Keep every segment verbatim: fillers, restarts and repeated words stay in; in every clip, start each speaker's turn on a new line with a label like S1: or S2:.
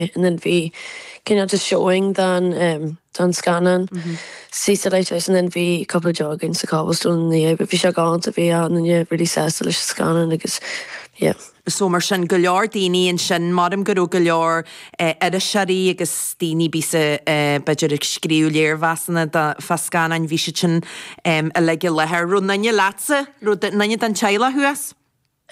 S1: and then bhí cineál just showing den um, den scannán mm sa Lighthouse and then bhí couple jogging sa Cobblestone ní but bhí sé galánta bhí an really sásta leis scannán agus yeah.
S2: So mar sin go leor daoine ansin maram go raibh go leor iriseoirí agus daoine bí b'fhéidir ag scríobh léirmheasanna fá scannáin bhí siad sin uilig i láthair. Raibh duine leatsa raibh duine den teaghlach thuas?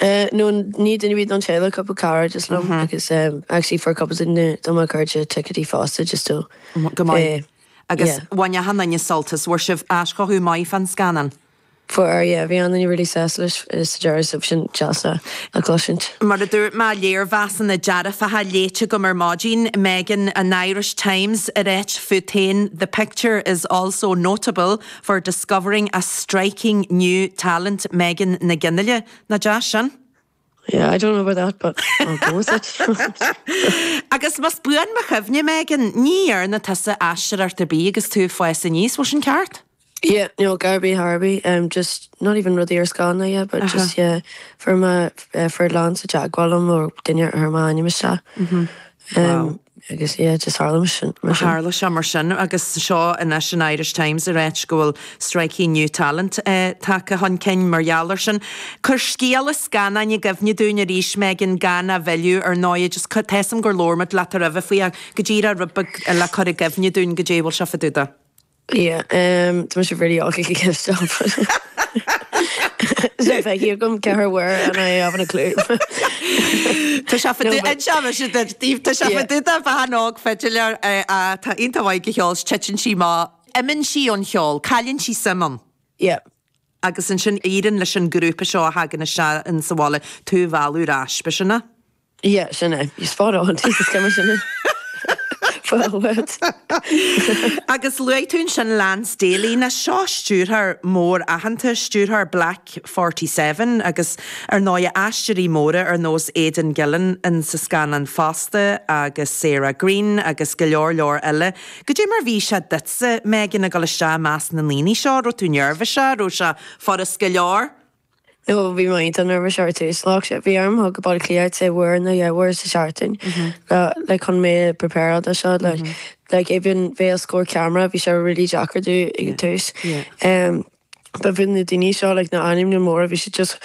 S1: Uh, no ní duine bhí don teaghlach couple cara just liom agus um, actually for couple duine do mo chairde ticéidí fosta just to
S2: go maith. Agus bhain achan duine sult as bhfuair sibh aischothú maith fan scannán.
S1: Fuair yeah, bhí an really sásta leis sa deireadh sin deas a chloisint.
S2: Mar a dúirt mé léirmheasanna dearfacha léite agam ar maidin Megan an Irish Times a ráit fút féin the picture is also notable for discovering a striking new talent Megan Nic Fhionnghaile nach deas sin.
S1: Yeah, I don't know about that, but I'll go with it.
S2: Agus más buan mo chuimhne Megan ní dhearna tusa aisteoireacht ar bith agus tú ag fás aníos bhfuil sin ceart?
S1: Yeah, no, Garby Harby, um, just not even rudaí ar scáileán yeah, but uh -huh. just yeah, for my uh, for Lance teagmháil liom ó duine ar ma ainm isteach. Um, wow. agus yeah, just tharla sin.
S2: Tharla sé mar sin agus seo anois an Irish Times a ráit go bhfuil striking new talent uh, tagtha chun cinn mar gheall air sin. Cuir scéal an scannáin i gcuimhne dúinn arís Megan gan a mhilleadh ar ndóigh just tuigim gur labhair muid leat roimhe faoi go díreach rud beag le cur i gcuimhne dúinn go dé bhfuil se fadúda.
S1: Yeah, um, tá sé really awkward to stop. So bheith gom ceathair uair and I haven't a clue.
S2: Tá sé Tá sé fadúda bhean óg fiddler tá iontach maith ag ceol titeann sí má imíonn sí ón cheol, cailleann sí suim ann.
S1: Yeah.
S2: Agus ansin éiríonn leis an grúpa seo a thagann isteach in sa bhaile tú a mhealladh ar ais ba sin é?
S1: Yeah, sin é. You spot on Jesus cuma sin. Well,
S2: Agus luaigh tú sin Lance Daly na seo stiúrthóir mór aitheanta stiúrthóir Black forty seven agus ar ndóigh aisteoirí móra ar nós Aidan Gillen in sa scannán fosta agus Sarah Greene agus go leor leor eile. Goidé mar bhí sé duitse Megan ag dul isteach i measc na ndaoine seo, raibh tú neirbhíseach, raibh sé furast go leor?
S1: No bhí mé iontach nervous ar tús lá sé bhí orm go Baile Átha Cliath sé uair nó dhá uair sa seachtain le chun mé prepare do seo like like even bheith os comhair camera bhí sé really deacair domh ag an tús. Um, But bhí na daoine seo like na ainmneacha móra bhí sé just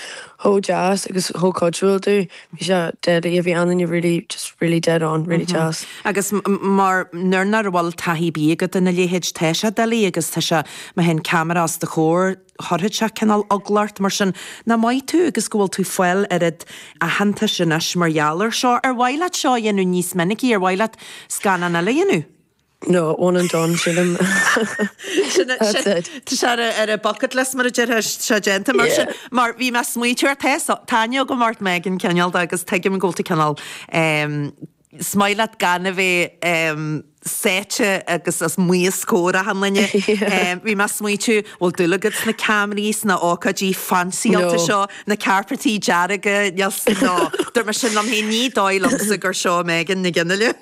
S1: chomh deas agus chomh cuidiúil domh bhí sé deadly bhí an really just really dead on really deas.
S2: Agus mar nuair nach bhfuil taithí ar bith agat ina leithéid tá sé doiligh agus tá sé má théann ceamara os do chomhair chuirfeadh sé cineál eagla ort mar sin nach maith tú agus go bhfuil tú fáil oiread aitheantais anois mar gheall air seo ar mhaith leat seo a dhéanamh níos minicí ar mhaith leat scannán eile a dhéanamh?
S1: No, one and done sílim. That's it.
S2: Tá sé ar a bucket list mar a deir sé déanta mar sin mar bhí mé ag smaointiú ar tá aithne agam ort Megan cineál agus tuigim go bhfuil tú cineál is maith leat gan a bheith sáite agus os comhair achan duine. Bhí mé ag smaointiú bhfuil dúil agat sna ceamaraí sna ócáidí fancyáilte seo, na cairpéidí dearga no Dúirt mé sin liom féin ní dóigh liomsa gur seo Megan Nic Fhionnghaile.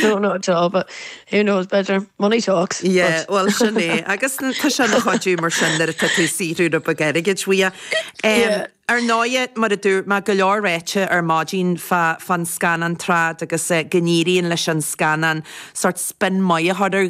S1: No, not at all, but who knows better. Money talks.
S2: Yeah, well sin é agus tá sé ina chuidiú mar sin nuair atá tú ag saothrú rud beag airgid uaidh.
S1: Yeah.
S2: Ar ndóigh mar a dúirt mé go leor ráite ar maidin fá fán scannán trad agus go n-éiríonn leis an scannán sort spin maith a chur ar